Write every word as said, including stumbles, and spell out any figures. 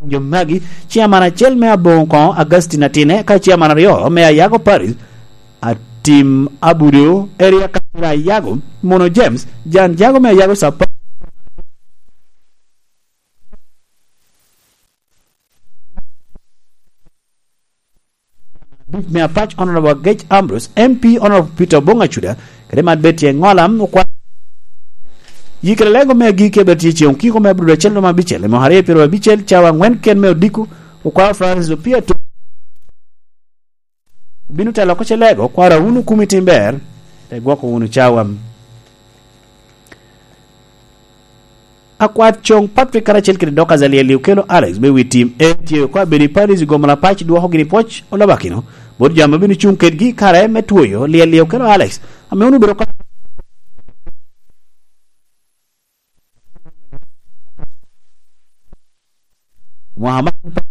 Jo magi, ciaman acel me Aboŋo Koŋo, Augustine Atine, ka ciaman aryo me Ayago Paris, Atim Abudo, Eria Kacira Ayago, Mono James, Jan Jago me Ayago Sapa-, me Apac, Honorable Agec Ambrose, M P Honorable Peter Obong Acuda, kede man bed tye ŋolam okwa-, yikere lego me agikki abed tye ceŋ okiko me abiro acel romo abicel, me aryo pyero abicel, cawa aŋwen ken me odiko, okwao Francis Opio Atum. Bino telo oko ce lego, kwara wunu kumi tim ber, te gwoko wunu cawa. Akwat Coŋ Patrick karacel kede Dorcas Alyel Okelo Alex me wi tim, en tye oko abedo i Paris i gomo Lapac, dwoko gini pwoc olabakino, bot jami obino cuŋ kedgi kare me twoyo Alyel Okelo Alex, ame wunu obedo ka Mwaka man